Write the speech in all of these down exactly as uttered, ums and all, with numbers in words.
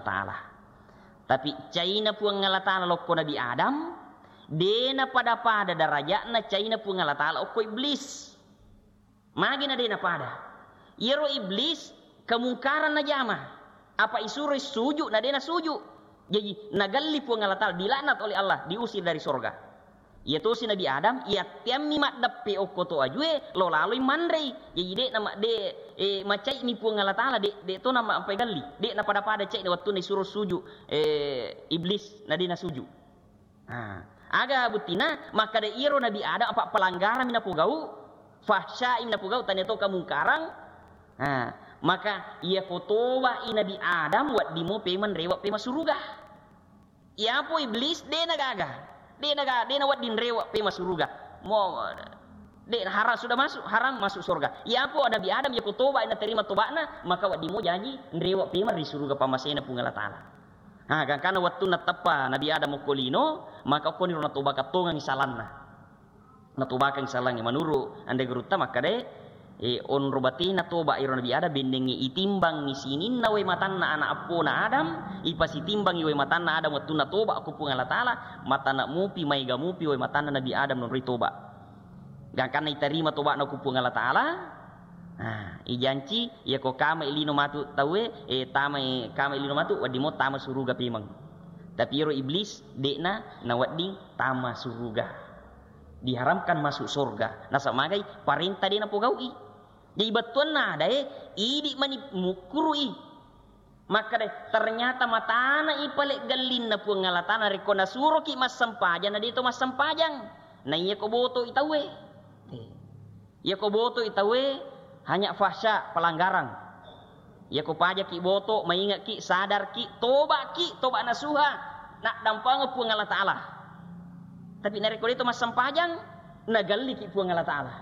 Taala. Tapi caina Puang Allah Taala lokko Nabi Adam, de' napada-pada daraja'na caina Puang Allah Taala okko Iblis. Magi na de' napada? Iyaro Iblis kemungkaran najama. Apa isuroi suju' na de' nasuju'. Jaji nagalli Puang Allah Taala, dilaknat oleh Allah, diusir dari sorga. Iya tosi Nabi Adam, iyatteammi maddeppe okko to ajue, lo laloi manrei. Jaji de' nama-, de', eh, macai'mi Puang Allah Taala, de', de' to nama ampai galli. De' napada-pada cai'na wettunna isuro suju', eh, Iblis, na de' nasuju'. Ah, aga buttina? Makkada iyaro Nabi Adam apa pelanggaran mi napogau, fahsya mi napogau, tania to kemungkaran. Ah, maka iya ko toba'i Nabi Adam, wedding mo pemeng rewe' pemeng suruga. Iyapo Iblis de' nagaga. De' naga-, de' nawedding rewe' pemeng suruga. Mo, de' haram sudah masuk, haram masuk surga. Iyapo Nabi Adam iya ko toba' naterima toba'na, maka wedding mo jaji rewe' pemeng ri suruga pammasena Puang Allah Taala. Ha, gangkanna wettunna teppa Nabi Adam okko lino, maka okkoniro natobakang tongengngi salanna. Natobakang salangnge. Menuru' anre gurutta makkadae, eh, onro batena toba' iro Nabi Adam, bennengnge itimbangngi sininna wae matanna ana' eppona Adam, ipasitimbangngi wae matanna Adam wettunna toba' ko Puang Allah Taala, matana mupi, maega mupi wae matanna Nabi Adam nonroi toba'. Gangkanna itarima toba'na ko Puang Allah Taala, nah, ijanci, iya ko kamai lino matu tauwe, eh, tamai, kamai lino matu, wedding mo tama suruga pemeng. Tapi iro Iblis, de'na nawedding tama suruga. Diharamkan masuk surga. Nasaba magai? Parenta de' napogau'i. Jadi bettuanna adae, idi' mani mukkuru'i. Makkeda, ternyata matana ipale' gallinna Puang Allah Taala, narekko nasuroki massempajang, na de' to massempajang. Na iya ko boto'i tauwe. Eh. Iya ko boto'i tauwe, hanya fahsya, pelanggaran. Iya ko pajaki boto, mainge'ki, sadarki, toba'ki, toba' nasuha, naddampengeng Puang Allah Taala. Tapi narekko de' to massempajang, nagalliki Puang Allah Taala.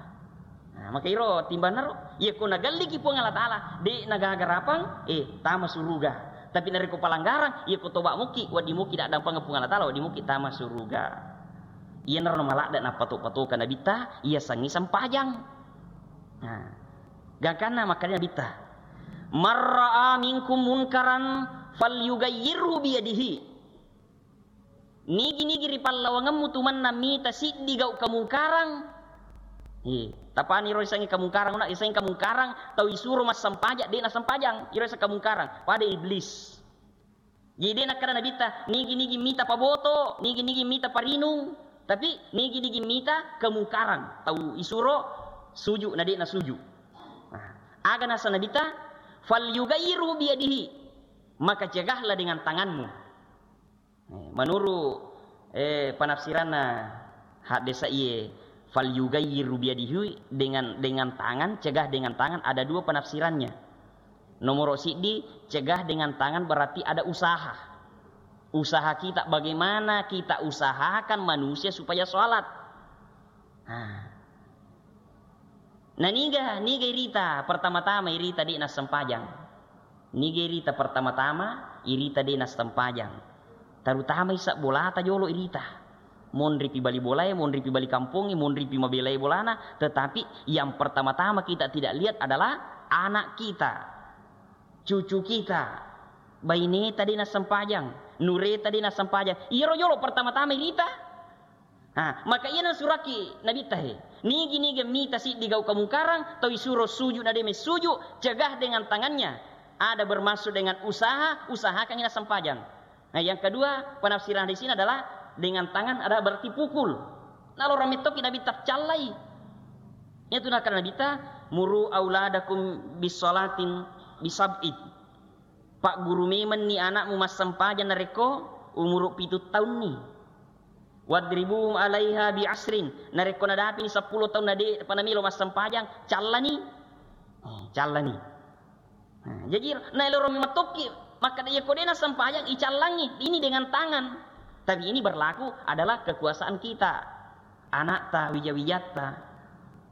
Nah, maka iro timbanna ro, iya ko nagalliki Puang Allah Taala, de' nagaga rapang, eh, tama suruga. Tapi narekko pelanggaran, iya ko toba' muki, wedding muki naddampengeng Puang Allah Taala, wedding muki tama suruga. Iyanaro maladde' nappato-patoka Nabitta, iya sengngi sempajang. Nah, gangkanna makkeda Nabitta, "Man ra'a minkum munkaran falyughayyirhu biyadihi." Nigi-nigi ri pallawangemmu tu mennang mita siddi gau' kemungkaran. Eh, tapani ro isengnge kemungkaran, una isengnge kemungkaran, tau isuro massempajang, de' nasempajang, iro iseng kemungkaran, pada iblis. Jadi de' nakkeda Nabitta, nigi-nigi mita paboto, nigi-nigi mita parinung, tapi nigi-nigi mita kemungkaran, tau isuro suju' na de' nasuju'. Nah, aga nasa Nabitta, "Falyughayyirhu biyadihi," maka cegahlah dengan tanganmu. Eh, menurut, eh, penafsiranna haddesa iye, "Falyughayyirhu biyadihi," dengan, dengan tangan, cegah dengan tangan, ada dua penafsirannya. Nomor siddi, cegah dengan tangan berarti ada usaha. Usaha kita, bagaimana kita usahakan manusia supaya sholat. Nah. Na niga, niga irita pertama-tama irita de' nassempajang. Niga irita pertama-tama irita de' nassempajang. Terutama isa bolata jolo irita. Monripi bali bolae, monripi bali kampongnge, monripi mabelai bolana, tetapi yang pertama-tama kita tidak lihat adalah anak kita, cucu kita, baineta de' nassempajang, nureta de' nassempajang. Iyaro jolo pertama-tama irita. Ha, maka iyana suraki Nabitta he. Nigi-nigi mita siddi gau' kemungkaran, tau isuro suju' na de' messuju', cegah dengan tangannya. Ada bermaksud dengan usaha, usahakan ina sempajang. Nah, yang kedua, penafsiran di sini adalah dengan tangan ada berarti pukul. Nalorang mettoki Nabitta callai. Itu nakana Nabitta, "Muru auladakum bisolatin bisab'i." Pagguru memenni anakmu massempajang narekko umuru pitu taunni. "Wadribuhum alaiha bi asrin." Narekko nadapini seppulo taung na de' pa namelo massempajang, callani. Eh, callani. Nah, jaji naeloro memettokki makkeda, iya ko de' nassempajang, icallangi. Ini dengan tangan. Tapi ini berlaku adalah kekuasaan kita. Anakta, wija-wijatta.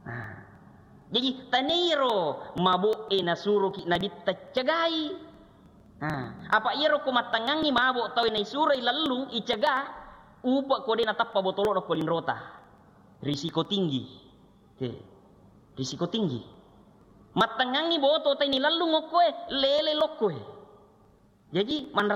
Nah. Jaji, taniro mabo'e nasuroki Nabitta cegai. Nah, apa iyaro ko mattengngangngi mabo' tau naisuroi lellung icega, upa' ko de' natappa botolo'na ko linrota. Risiko tinggi. Oke. Risiko tinggi. Mattengngangngi boto tai nilellung okkoe, lele lokkoe. Jaji, manra